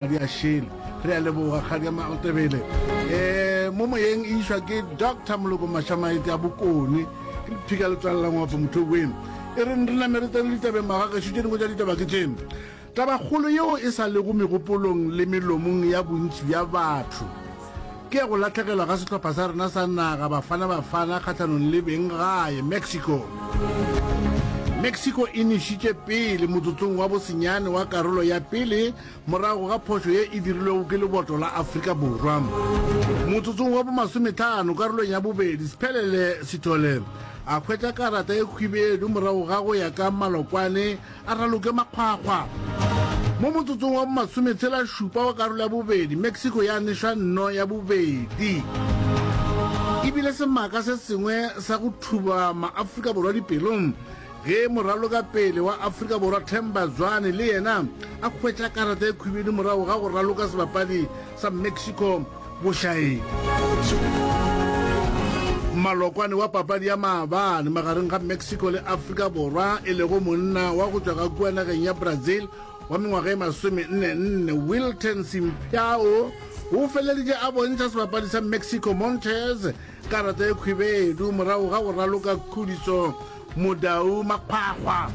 Di a šele. Re a leboga Kgadi ya Matebele. Eh, mo moyeng e išwa ke Doctor Moloko Mashamaete a Bokone. Ke lephika le tswalela ngwapo motho weno. E re re name re tsene ditabeng magagešo tše dingwe tša ditaba ke tše. Tabakgolo yeo e sa lego megopolong le melomong ya bontši bja batho ke ya go lahlegelwa ga sehlopha sa rena sa naga Bafana Bafana kgahlanong le beng gae Mexico. Mexico e nešitše pele motsotsong wa bosenyane wa karolo ya pele morago ga phošo ye e dirilwego ke leboto la Afrika Borwa. Motsotsong wa bomasometlhano karolong ya bobedi, Sphelele Sithole a hwetša karata e khwibedu morago ga go ya ka malokwane a raloke makgwakgwa. Mo motsotsong wa bomasometshela-šupa wa karolo ya bobedi, Mexico ya nešwa nno ya bobedi. E bile semaka se sengwe sa go thuba ma-Afrika Borwa dipelong ge moralokapele wa Afrika Borwa Themba Zwane le yena a hwetša karata e khwibedu morago ga go raloka sebapadi sa Mexico bošaedi. Malokwane wa papadi ya maabane magareng ga Mexico le Afrika Borwa e lego monna wa go tšwa ka kua nageng ya Brazil wa mengwaga e masomenne-nne Wilton Simpiao o feleleditše a bontšha sebapadi sa Mexico Montes karata e khwibedu morago ga go raloka Khudiso Modau Makgwakgwa.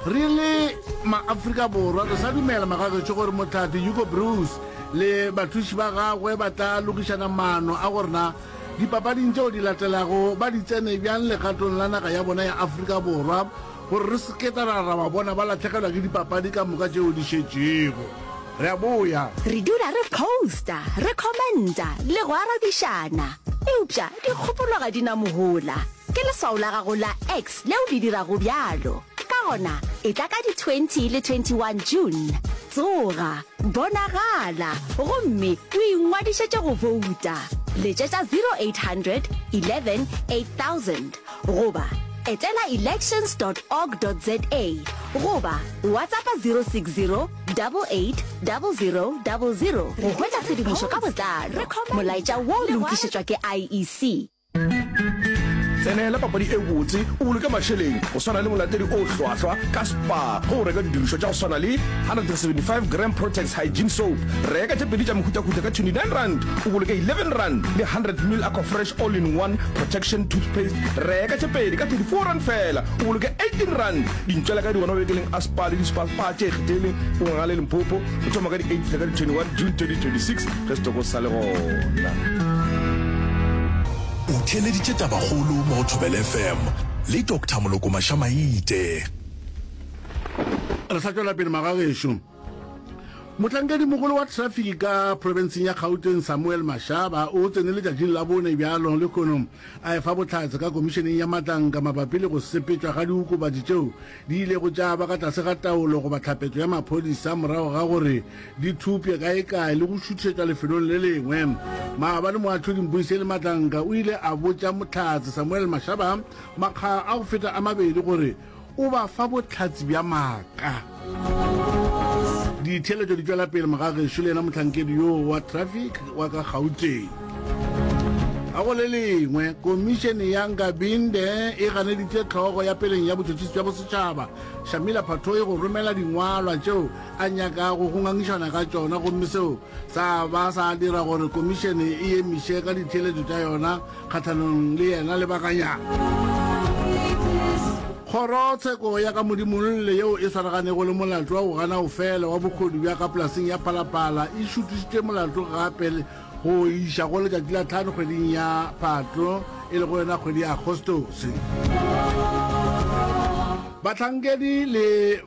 Re le maAfrika Borwa re sa dumela magagešo gore mohlahli Hugo Broos le bathuši ba gagwe ba tla lokišana maano a gore na dipapading tšeo di latelago ba di tsene bjang legatong la naga ya bona ya Afrika Borwa gore re se ke ra ra ba bona ba lahlegelwa ke dipapadi ka moka tšeo di šetšego. Re a boya. Re dula re posta, re commenta le go arabišana. Eupša dikgopolo ga di na mohola. Ke leswao la gago la X leo le dirago bjalo. Ka gona, etla ka di 20 le 21 June. Tsoga, bonagala, gomme o ingwadišetše go bouta. Letšetša 0800 11 8000 goba etela elections dot org dot za goba WhatsAppa 060 88 00 00 go hwetša tshedimošo ka botlalo. Molaetša wo o lokišetšwa ke IEC. Tsenela papadi e botse o boloke mašeleng go swana le molatedi o hlwahlwa ka Spar ge o reka didirišwa tša go swana le 175 gram Protex Hygiene Soap. Reka tše pedi tša mehutahuta ka R29 o boloke R11 le 100 ml Aquafresh All in One Protection Toothpaste. Reka tše pedi ka R34 feela o boloke R18. Dintšwela ka di gona mabenkeleng a Spar le di-Spar Spar tše ikgethileng go Ngaka le Limpopo go thoma ka di 8 fihla ka di 21 June 2026 ge setoko se sa le gona. O theeleditše Tabakgolo mo go Thobela FM le Doctor Moloko Mašamaite. Re sa tšwela pele magagešo. Mohlankedimogolo wa traffic ka profenseng ya Gauteng Samuel Mashaba o tsene letšatšing la bone bjalo lehono a efa bohlatse ka komišeneng ya matlanka mabapi le go sepetšwa ga diokobatši tšeo di ilego tša ba ka tlase ga taolo goba tlhapetšo ya maphodisa morago ga gore di thupše kaekae le go šuthišetšwa lefelong le lengwe. Maabane moahlodi Mbuyiseli Matlanka o ile a botša Mohlatse Samuel Mashaba makga a go feta a mabedi gore o ba fa bohlatse bja maaka. Ditheeletšo di tšwela pele mogagešo le yena mohlankedi yoo wa traffic wa ka Gauteng. Ka go le lengwe, Komišene ya Nkabinde e ganeditše hlogo ya peleng ya botšhotšhisi bja bosetšhaba, Shamila Batohi go romela dingwalwa tšeo a nyakago go ngangišana ka tšona gomme seo sa ba sa dira gore komišene e emiše ka ditheeletšo tša yona kgahlanong le yena lebakanyana. Kgorotsheko ya ka Modimolle yeo e swaraganego le molato wa go gana go fela wa bohodu bja ka polaseng ya Phalaphala e šuthišitše molato gape go iša go letšatši la tlhano kgweding ya Phatlo e lego yona kgwedi ya Agostose. Bahlankedi le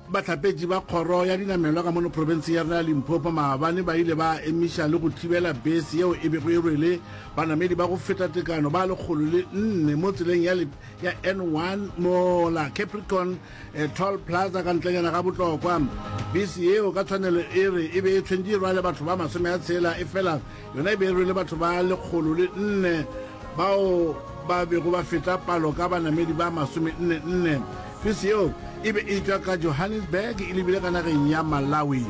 Bahlapetši ba kgoro ya dinamelwa ka mono profenseng ya rena ya Limpopo maabane ba ile ba emiša le go thibela bese yeo e bego e rwele banamedi ba go feta tekano ba 104 mo tseleng ya, ya N1 mola Capricorn eh, Toll Plaza ka ntlenyana ga Botlokwa. Bese yeo ka tshwanelo e re e be e tshwentše e rwale batho ba 60 efela yona e be e rwele batho ba 104 bao ba bego ba feta palo ka banamedi ba masomenne-nne. Bese yeo e be e tšwa ka Johannesburg e lebile ka nageng ya Malawi.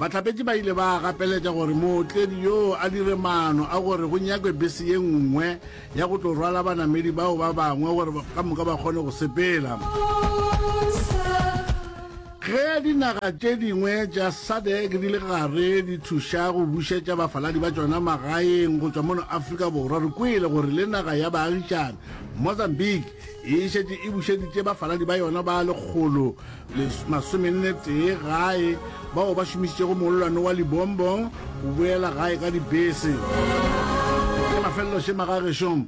Bahlapetši ba ile ba gapeletša gore mootledi yoo a dire maano a gore go nyakwe bese ye nngwe ya go tlo rwala banamedi bao ba bangwe gore ka moka ba kgone go sepela. Ge dinaga tše dingwe tša SADC di le gare di thuša go bušetša bafaladi ba tšona magaeng go tšwa mono Afrika Borwa, re kwele gore le naga ya baagišane, Mozambique, e šetše e bušeditše bafaladi ba yona ba 141 gae bao ba šomišitšego mollwane wa Lebombo go boela gae ka dibese. Ke mafelelo še magagešo.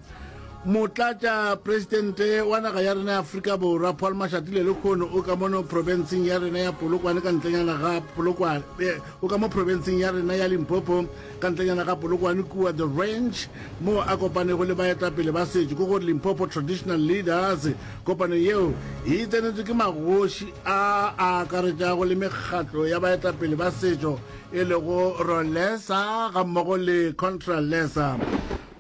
Motlatšapresidente wa naga ya rena ya Afrika Borwa Paul Mashatile lehono o ka mono profenseng ya rena ya Polokwane ka ntlenyana ga Polokwane eh, o ka mo profenseng ya rena ya Limpopo ka ntlenyana ga Polokwane kua The Ranch mo a kopanego le baetapele ba setšo ke gore Limpopo Traditional Leaders. Kopano yeo e tsenetšwe ke magoši a a akaretšago le mekgatlo ya baetapele ba setšo e lego Rolesa gammogo le Contralesa.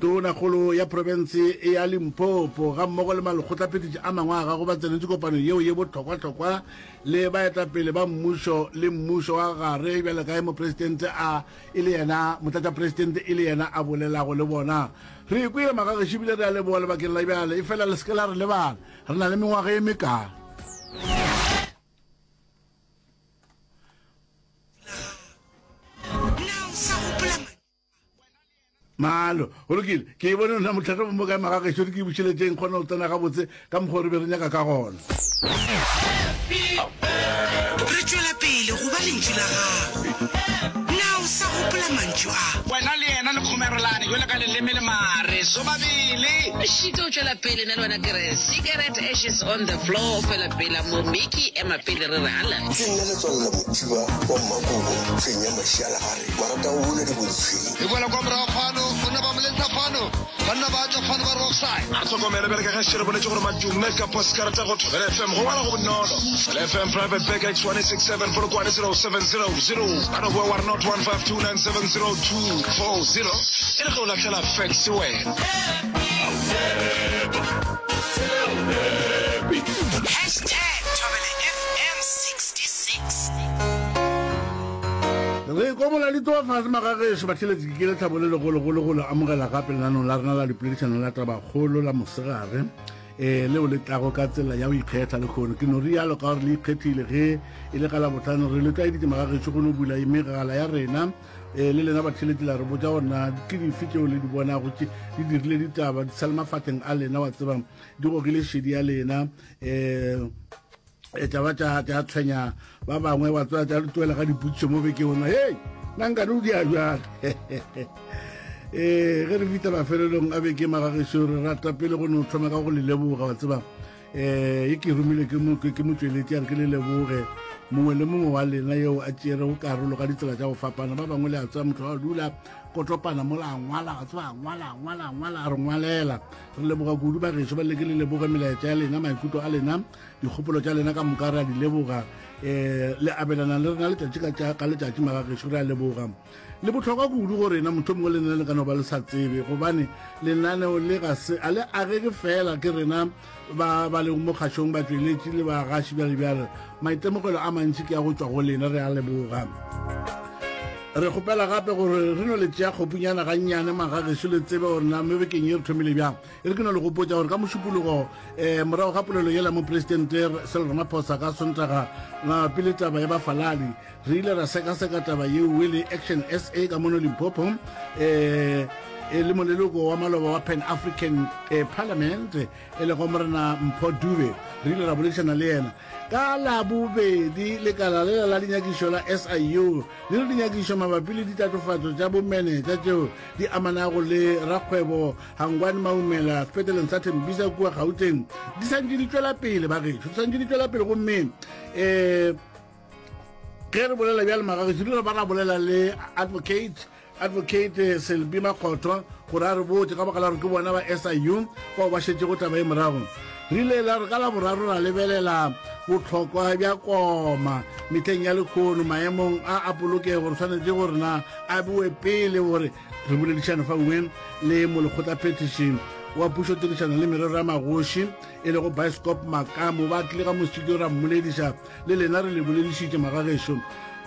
Tonakgolo ya profense ya Limpopo gammogo le malekgotlaphethiši a mangwe a gagwe ba tsenetše kopano yeo ye bohlokwahlokwa le baetapele ba mmušo le mmušo wa gare bjalo ka ge mopresidente a e le yena motlatšapresidente e le yena a bolelago le bona. Re ikwele magagešo ebile re a leboga lebakeng la bjale, efela le se ke la re lebala, re na le mengwaga ye mekae. Malo, go lokile. Ke e bone nna motlhatlo mo kae magagešo re ke bušeletšeng kgona go tsena gabotse ka mokgwa re be re nyaka ka gona. Re tšwela pele go ba lentšu la gago. Na o sa gopola mantšu a? Wena le yena le kgomerelane bjalo ka leleme le mare sobabele. Šito o tšwela pele, nna le wena ke re cigarette ashes on the floor, fela pela mo Mickey ema pele re re ala. Ke nna Letswalo la Mothiba wa Mmakobo, fenya mašialagare, maratagobola diboditshweng. E boela kwa morago fano, banna ba moletsa fano, banna ba tšwa fano ba re offside. A re hlokomele bjale ka ge še re boletše gore madume ka poskarata go Thobela FM go ngwala go bonolo. Thobela FM Private Bag X167 Polokwane 07000 ba no boa wa re not 152970240 e le ge o lahlela fax wena. Hashtag Thobela FM 66. Re ikomola di tloga fase magagešo batheletši ke lethabo le legologolo go le amogela gape lenanong la rena la dipoledišano la tabakgolo la mosegare um leo le tlago ka tsela ya go ikgetha lekgono ke no rialo ka gore le ikgethile ge e le ka labohlano re le tlwaeditše magagešo go no bula megala ya rena um le lena batheletši la re botša gore na ke dife tšeo le di bonago tše di dirile ditaba di sa le mafahleng a lena wa tseba di gogile šedi ya lena um e tša ba tša tša tshwenya ba bangwe wa tswa tša tloela ga dipotšišo mo bekeng ona hei nna nkane o dia bjang ee ge re fihla mafelelong a beke magagešo re rata pele go no thoma ka go le leboga wa tseba um e ke romile ke motšweletši a re ke le leboge mongwe le mongwe wa lena yeo a tšerego karolo ka ditsela tša go fapana ba bangwe le a tseba motho wa dula kotopana mola a ngwala wa tseba a ngwala a ngwala a ngwala a re ngwalela re leboga kudu ba gešo ba leke le leboge melaetša ya lena maikutlo a lena Dikgopolo tša lena ka moka re a di leboga. Um le abelana le rena letšatši ka, ka letšatši magagešo, re a leboga. Le bohlokwa kudu go rena, motho mongwe le nna le ka no ba le sa tsebe, gobane lenaneo le ga se a le agege fela ke rena ba ba lego mo kgašong, batšweletši le bagaši bjale bjale. Maitemogelo a mantši ke a go tšwa go lena, re a leboga. Re kgopela gape gore re no le tšea kgopunyana gannyane magagešo, le tsebe gore na mo bekeng ye re thomile bjang. E re ke no le gopotša gore ka Mošupologo um morago ga polelo yela Mopresidente Cyril Ramaphosa ka Sontaga mabapi le taba ya bafaladi, re ile ra sekaseka taba yeo le Action SA ka mono Limpopo um e le moleloko wa maloba wa Pan African eh, Parliament e lego Morena Mpho Dube. Re ile ra boledišana le yena ka Labobedi. Lekala lela la dinyakišo la SIU le re dinyakišo mabapi le ditatofatšo tša bomenetša tšeo di amanago le rakgwebo Hangwani Maumela sepetleleng sa Tembisa kua Gauteng di santše di tšwela pele bagešo, di santše di tšwela pele gomme um ge re bolela bjale magagešo re ba ra bolela le advocate advocate eh, Selby Makgotho gore a re botse ka baka la gore ke bona ba SIU bao ba šetšego taba e morago. Re ile la re ka la boraro ra lebelela bohlokwa bja koma mehleng ya lekhono maemong a a polokego re swanetše gore na a bewe pele gore Re boledišane fa nngwe le molekgotlaphethiši wa pušo tirišano le merero ya magoši e lego Bioscope Makamu. Ba tlile ka mo studio ra mmolediša le lena re le boledišitše magagešo.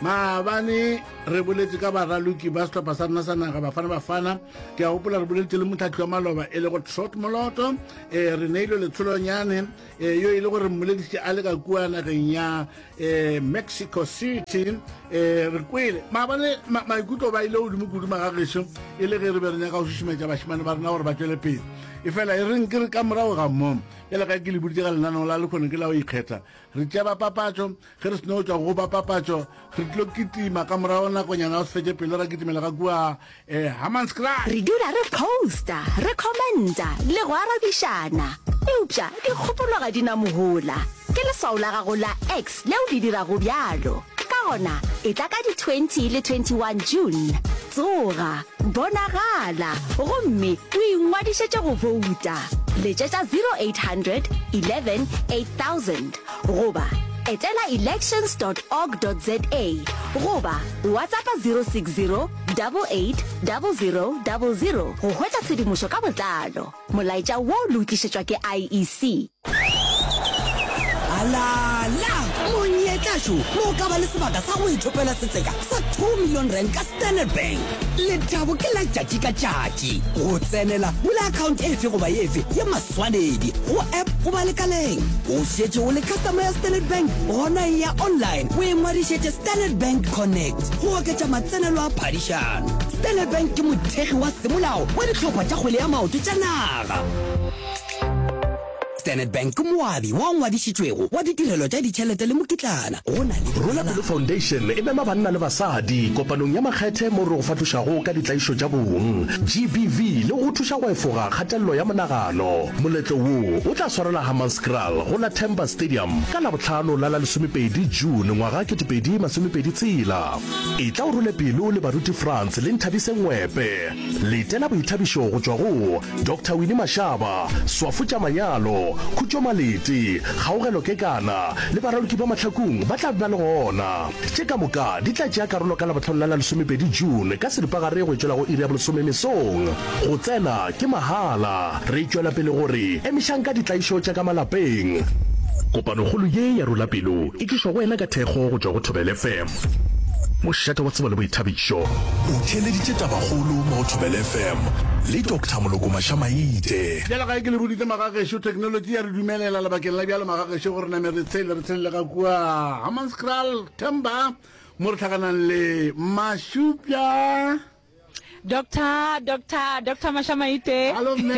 Maabane re boletše ka baraloki ba sehlopha sa rena sa naga Bafana Bafana. Ke a gopola re boletše le motlhahli wa maloba e lego Trot Moloto, um re neilwe Letsholonyane um yo e le gore mmoledišitše a le ka kua nageng ya um Mexico City. Um re kwele maabane maikutlo ba ile godimo kudu magagešo e le ge re be re nyaka go šušumetša bašemane ba rena gore ba tšwele pele. Efela e reng ke re ka morago ga mo, bjale ka ke le boditše ka lenaneo la lekgono ke la go ikgetha, re tšea ba papatšo. Ge re seno tšwa go ba papatšo, re tlo kitima ka morago nakonyana go se fetše pelo ra kitimela ka kua eh, Hammanskraal. Re dula re posta, re commenta le go arabišana. Eupša dikgopolo ga di na mohola. Ke leswao la gago la X leo le dirago bjalo. Ka gona, etla ka di 20 le 21 June. Tsoga, bonagala, gomme o ingwadišetše go bouta. Letšetša 0800 11 8000. Goba etela elections dot org dot za goba WhatsAppa 060 88 00 00 go hwetša tshedimošo ka botlalo. Molaetša wo le o tlišetšwa ke IEC. Alala! Monyetla šo mo o ka ba le sebaka sa go ithopela setseka sa 2 million rand ka Standard Bank. Lethabo ke la tšatši ka tšatši. Go tsenela, bula account efe goba efe ya maswanedi go app goba lekaleng. O šetše o le customer ya Standard Bank? Gona eya online o ingwadišetše Standard Bank Connect go oketša matsenelo a phadišano. Standard Bank ke mothekgi wa semolao wa dihlopha tša kgwele ya maoto tša naga. Standard Bank ke moabi wa ngwadišitšwego wa ditirelo tša ditšhelete le mokitlana. Go na le Rola Pelo Foundation e mema banna le basadi kopanong ya makgethe mo re go fahlošago ka ditlaišo tša bong, GBV, le go go thuša go efoga kgatelelo ya monagano. Moletlo wo o tla swarelwa Hammanskraal go la Themba Stadium ka Labohlano la la lesomepedi June ngwaga 2026. Etla o role pelo le Baruti Frans le Nthabise Ngwepe. Letela boithabišo go tšwa go Doctor Winnie Mashaba, Swafo tša Manyalo, Khutšo Malete, Kgaogelo Kekana le baraloki ba Mahlakung ba tla be ba le gona. Tše ka moka di tla tšea karolo ka Labohlano la la lesomepedi June ka seripagare go e tšwela go iri ya bolesome mesong. Go tsena ke mahala. Re tšwela pele go re emišang ka ditlaišo tša ka malapeng. Kopanokgolo ye ya Rola Pelo e tlišwa go wena ka thekgo go tšwa go Thobela FM. Mošate wa tsebo le boithabišo. O theeleditše tabakgolo mo go Thobela FM le Doctor Moloko Mašamaite. Bjale ga ke le boditše magagešo, technology ya re dumelela lebakeng la bjalo magagešo gore name re tshele re tshelele ka kua Hammanskraal, Themba, mo re hlakanang le Mašupja. Doctor, Doctor, Doctor Mashamaite. Hallo mme.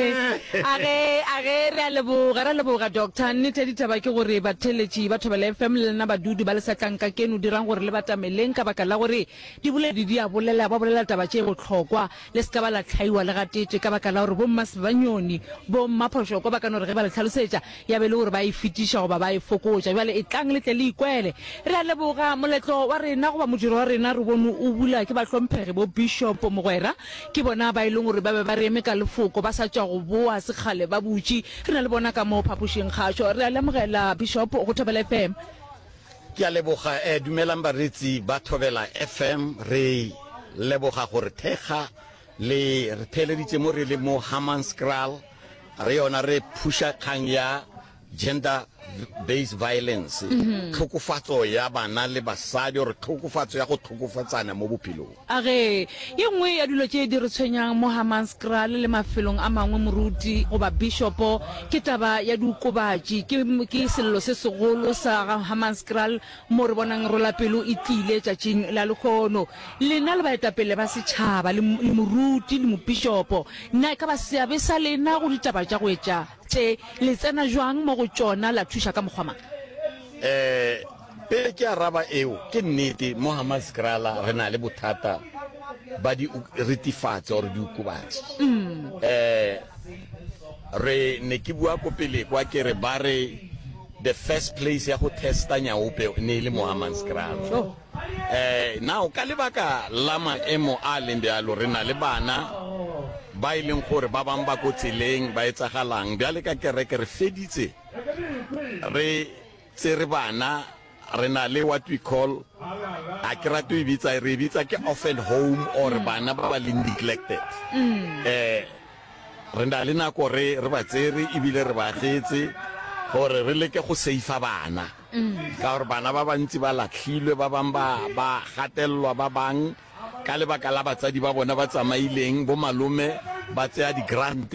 A ge, a ge re a leboga, re a leboga Doctor. Nnete ya ditaba ke gore batheeletši ba Thobela FM le lena badudi ba Lesatlanka keno dirang gore le batameleng ka baka la gore diboledi di a bolela, ba bolela taba tše bohlokwa. Le se ka ba la hlaiwa le gateetše ka baka la gore bo Mmasebanyoni, bo Mmaphošoko ba ka no re ge ba le hlalosetša ya be e le gore ba e fetiša goba ba e fokotša. Bjale etlang le tle le ikwele. Re a leboga. Moletlo wa rena goba modiro wa rena re bone o bula ke bahlomphegi bo Bishop Mogwera. Ke bona ba e leng gore ba be ba re eme ka lefoko ba sa tšwa go boa sekgale ba butše. Re na le bona ka mo phapošing kgašo. Re a le amogela Bishop go Thobela FM. Ke a leboga. Eh, dumelang bareetsi ba Thobela FM. Re leboga go re thekga le re theeleditše mo re le mo Hammanskraal. Re yona re phuša kgang ya gender based violence, tlhokofatso ya bana le basadi or tlhokofatso ya go tlhokofatsana mo bophelong. A re, Ye nngwe ya dilo tše di re tshwenyang mo Hammanskraal le mafelong a mangwe moruti goba bishopo ke taba ya diokobatši. Ke, ke sello se segolo sa ga Hammanskraal mo re bonang rolapelo e tlile tšatšing la lehono. Lena le baetapele ba setšhaba, le, le moruti le mopišopo, na e ka ba seabe sa lena go ditaba tša go etša tše? Le tsena bjang mo go tšona, la thuša ka mokgwa mang? Eh, pele ke araba eo, ke nnete mo Hammanskraal re na le bothata ba di ritifatse or diokobatši. Eh, re ne ke bua ko pele kwa ke re ba re the first place ya go testa nyaope ne e le mo Hammanskraal. Eh, now ka lebaka la maemo a leng bjalo, re na le bana ba e leng gore ba bang ba ko tseleng ba etsagalang. Bjale ka kereke re feditse re tsere bana, re na le what we call, a ke rate e bitsa, re e bitsa ke orphan home or bana ba ba leng neglected. Eh, re na le nako re re ba tsere ebile re ba agetse gore re leke go seifa bana. Ka gore bana ba bantsi ba lahlilwe, ba bang ba ba gatelelwa, ba bang ka lebaka la batsadi ba bona ba tsamaileng, bo malome ba tseya di-grant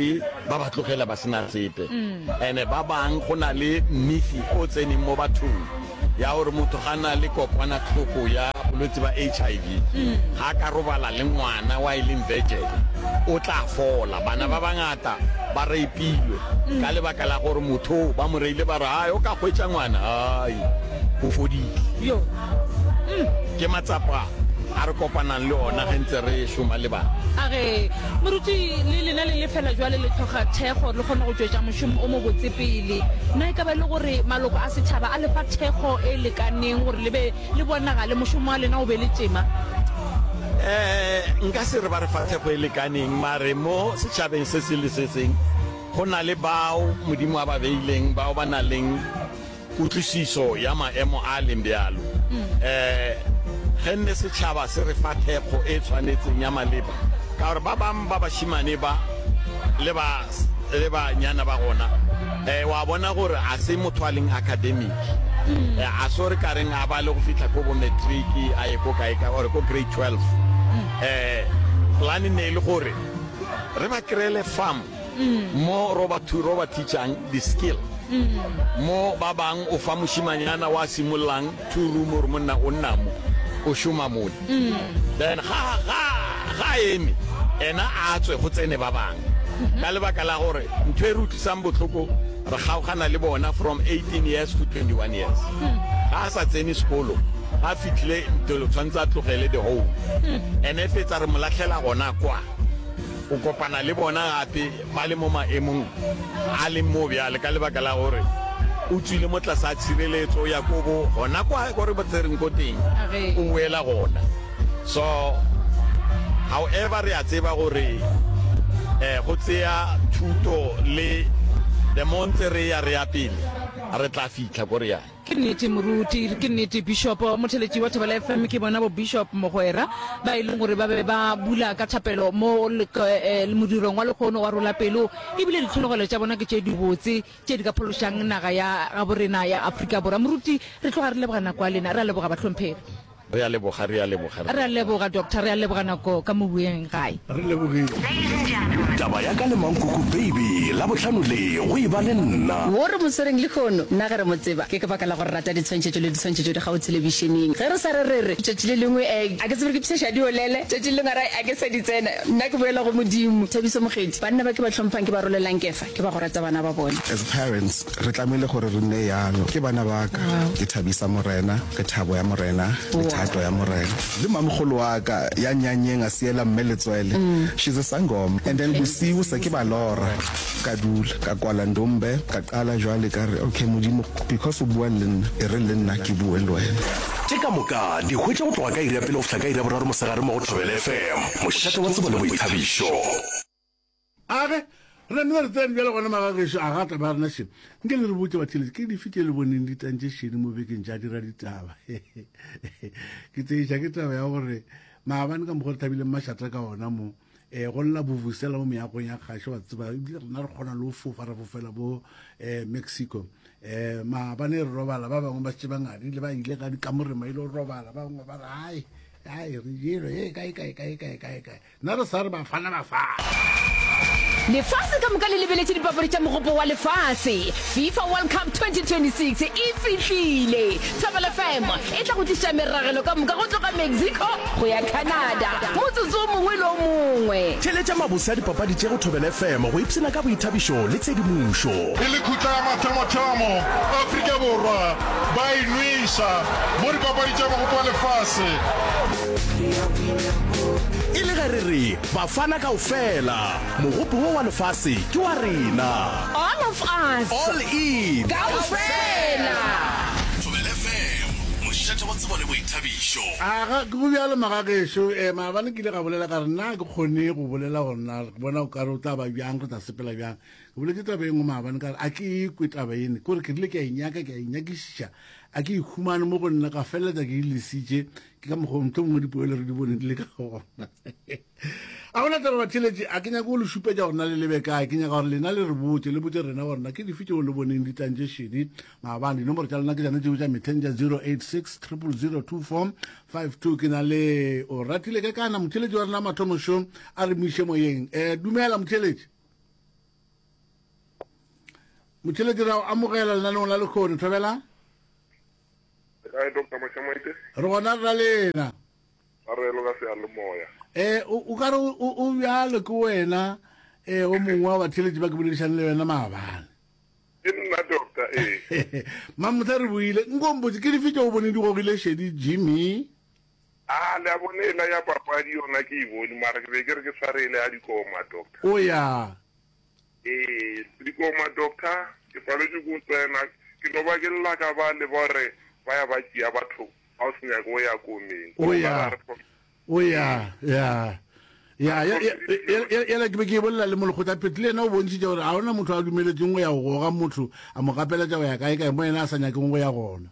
ba ba tlogela ba sena sepe. Ene ba bang go na le myth o tseneng mo bathong ya gore motho ga na le kokwanahloko ya bolwetse ba HIV ga a ka robala le ngwana wa e leng virgin o tla fola. Bana ba bangata ba rape-ilwe ka lebaka la gore motho ba mo reile ba re hai o ka hwetša ngwana, hai o fodile. Ke matsapa a re kopanang le ona ge ntse re šoma le bana. A re, Moruti, le lena le lefela jwale le hloka thekgo le kgone go tšwetša mošomo o mobotse pele. Na e ka ba e le gore maloko a setšhaba a le fa thekgo e lekaneng gore le be le bonagale, mošomo wa lena o be le tema? Eh, nka se re ba re fa thekgo e lekaneng, mare mo setšhabeng se seng le se seng go na le bao Modimo a ba beileng, bao ba nang le Kutlwisiso ya maemo a a leng bjalo. Um Ge nne setšhaba se re fa thekgo e tshwanetseng ya maleba, ka gore ba bang ba bašemane ba le ba le banyana ba gona, um wa bona gore a se motho a leng academic, um a se gore ka reng a bale go fihla ko bo matric a ye ko kae kae or ko grade 12. Um Plan ne e le gore re ba kry-ele farm Mo ro ba ro ba teachang di skill. Mo ba bang o fa mošimanyana wa simollang two room gore monna o nna mo o šoma mole. Then ga ga ga eme ena a tswe go tsene ba bang. Ka lebaka la gore ntho e re utlwisang bohloko re kgaogana le bona from 18 years to 21 years. Ga a sa tsene sekolo ga a fihlile ntlo tshwanetse a tlogele the home. Ene fetsa re mo lahlela gona kwa. O kopana le bona gape ba le mo maemong a leng mo bjale ka lebaka la gore o tswile mo tlase a tshireletso ya kobo gona kwa ko re ba tsereng ko teng o boela gona. So however re a tseba gore eh go tseya thuto le the more ntse re ya re ya pele re tla fitlha ko re yang. Ke nnete moruti, ke nnete Bishop. Motheletši wa Thobela FM ke bona bo Bishop Mogwera ba e leng gore ba be ba bula ka thapelo mo eh, modirong wa lekgono wa rola pelo ebile ditlhologelo tša bona ke tše dibotse tše di ka phološang naga ya gaborena ya Afrika Borwa. Moruti, re tloga re leboga nako ya lena, re a leboga bahlomphegi. Re a leboga, re a leboga, re. Re a leboga Doctor, re a leboga nako ka mo bueng gae. Re lebogile. Taba ya ka le Mankoko Baby, Labohlano le go e ba le nna. Wo re mo swereng lehono, nna ge re mo tseba, ke ka baka la go re rata ditshwantšhetšo le ditshwantšhetšo di gao thelebišeneng. Ge re sa re re re, tšatši le lengwe, eh, a ke tsebe gore ke pšheša diolele, tšatši le lengwe a re, a ke sa di tsena. Nna ke boela go Modimo. Thabiso Mokgethi, Banna ba ke ba hlomphang ke ba rolelang kefa, ke ba go rata bana ba bona. As parents, re tlamehile gore re nne yalo. Ke bana ba ka, ke thabisa Morena. Ke thabo ya Morena le thato ya Morena. Le mamogolo wa ka ya nyanyeng a siela mme letswele, she's a sangoma, and then bosiu se ke ba lora. Ka dula ka kwala ndombe ka qala jwale ka re okay Modimo because o bua le nna e re le nna ke bue le wena. Tše ka moka di hwetše go tloga ka iri ya pele go fihla ka iri ya boraro mosegare mo go Thobela FM, mošate wa tsebo le boithabišo. A re, Re namile re tsene bjale gona magagešo, a ga taba ya rena še. Nke le re botše batheeletši, ke dife tše le boneng di tantše šedi mo bekeng tša dira ditaba? Ke tseiša ke taba ya gore maabane ka mokgwa re thabileng mašata ka ona mo, um go lla bovusela mo meagong ya kgašo, wa tseba, ebile rena re kgona le go fofa ra fofela bo um Mexico. Um maabane re robala, ba bangwe ba šetše ba ngadile, ba ile ka dikamoreng ba ile go robala, ba bangwe ba re, hai, hai, re jelwe, e kae, kae, kae, kae, kae, kae. Nna re sa re Bafana Bafana. Lefase ka moka le lebeletše dipapadi tša Mogopo wa Lefase. FIFA World Cup 2026 e fihlile! Thobela FM e tla go tliša meragelo ka moka go tloga Mexico go ya Canada motsotso o mongwe le o mongwe. Theeletša mabose a dipapadi tše go Thobela FM go ipshina ka boithabišo le tshedimošo. E le khutla ya mathomothomo, Afrika Borwa ba e nwesa mo dipapadi tša Mogopo wa Lefase. E le ge re re Bafana kaofela, mogopo wo wa lefase ke wa rena. All of us. All in. Kaofela. Thobela FM, mošate wa tsebo le boithabišo. Aga, ke go bjalo magagešo. Eh, maabane ke ile ga bolela ka re nna ke kgone go bolela gore na ke bona o kare o tla ba bjang, re tla sepela bjang. Ke boletše taba e nngwe maabane ka re a ke e kwe taba ene, ke gore ke rile ke a e nyaka, ke a e nyakišiša, a ke e humane mo go nna, ka feleletša ke e lesitše. Ke ka mokgwa mohlomongwe dipoelo re di bone di le ka gona. A gona taba batheletši, a ke nyake go le šupetša gore na le lebe kae, ke nyaka gore lena le re botše, le botše rena gore na ke dife tšeo le boneng di tlantše šedi maabane. Dinomoro tša lena ke tšona tšeo tša mehleng tša 086 000 2452. Ke na le o ratile ke kana motheletši wa rena mathomo šo a re mo iše moyeng. Eh, dumela motheletši. Motheletši ra o amogela lenaneong la lekgono, thobela. Kae Doctor Mashamaite? Re gona re na lena. Tshwarelo ka seyalemoya. Eh, o ka re o bjalo ke wena eh o mongwe wa batheletši ba ke boledišane le wena maabane. Ke nna doctor ee. Mamotha re buile nko mpotse ke dife tše o bone di gogile šedi Jimmy? A le a bone ela ya papadi yona ke e bone mara ke be ke re ke tshware ele ya dikoma doctor. O ya. Ee dikoma doctor ke paletšwe ke go tsena ke no ba ke lla ka ba le ba re ba ya ba tšea batho Ga o se nyake o ya komeng. O ya. O ya. Ya. Ya, ya, ya, yela ke be ke bolela le molekgotla phetho le yena o bontšhitše gore ga ona motho a dumeletseng go ya go goga motho a mo gapeletša go ya kae kae mo yena a sa nyakeng go ya gona.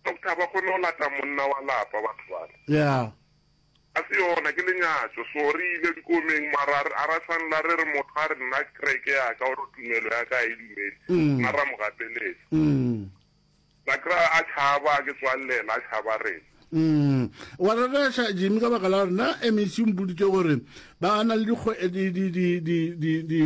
Doctor ba kgone go lata monna wa lapa batho bale. Ya. A se yona ke lenyatšo so re ile dikomeng mara a ra tshwanela re re motho a re nna kereke ya ka or tumelo ya ka a e dumele nna ra mo gapeletša. La kry-a a tšhaba, a ke tswallela, a tšhaba rena. Mm. Wa rereša Jimmy ka baka la gore na MEC o mpoditše gore ba na le dikgwe di di di di di di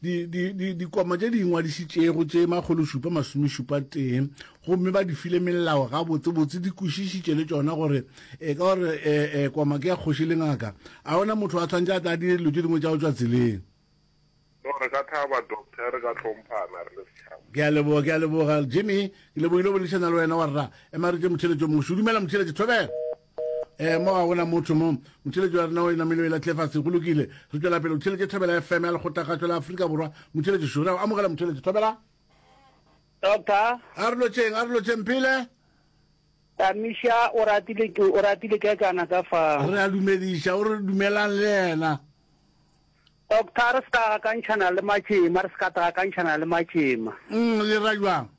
di di di dikoma tše di ingwadišitšego tše makgološupa masomešupa tee gomme ba di file melao gabotsebotse di kwešišitše le tšona gore e ka gore e, e, koma ke ya kgoši le ngaka a ona motho a tshwanetse a tla dire dilo tše dingwe tša go tšwa tseleng No, re ka thaba, Doctor, re ka hlomphana re le setšhaba. Ke a leboga, ke a leboga, Jimmy. Ke lebogile go boledišana le wena wa rra. Ema re tše motheeletši o mongwe. Dumela motheeletši, thobela. Eh, mo ga gona motho mo. Motheeletši wa rena o namile o e lahlile fase. Go lokile. Re tšwela pele. O theeletše Thobela FM ya Lekgotlakgašo la Afrika Borwa. Motheeletši šo. Re a o amogela motheeletši. Thobela. Doctor. A re lotšeng, a re lotšeng phele. Tamiša o ratile ke o ratile ke kana ka fa. Re a dumediša, o re dumelang le yena. Doctor, re se ka gakantšhana le matšema, re se ka gakantšhana le matšema. Mm, le ra jwang?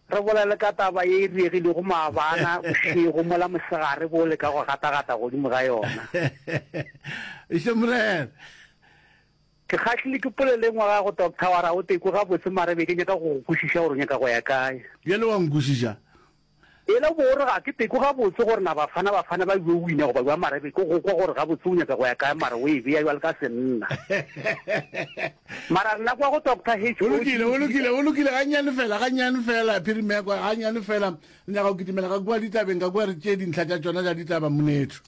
Re bolele ka taba ye e diregilego maabana bošego mola mosegare bo leka go gatagata godimo ga yona. Iše morena. Ke kgahlile ke polelo e nngwe gago Doctor wa ra o tekwe gabotse mara be ke nyaka go go kwešiša gore o nyaka go ya kae. Bjale wa nkwešiša? Ela o bo o re ga ke tekwe gabotse gore na Bafana Bafana ba yo wina goba bjang mara be ke go kwa gore gabotse o nyaka go ya kae mara o e bea bjalo ka senna. Mara nna kwa go Doctor H. O lokile, o lokile, o lokile gannyane fela, gannyane fela, Phirimekwa, gannyane fela. Re nyaka go kitimela ka kua ditabeng, ka kua re tšee dintlha tša tšona tša ditaba, monetho.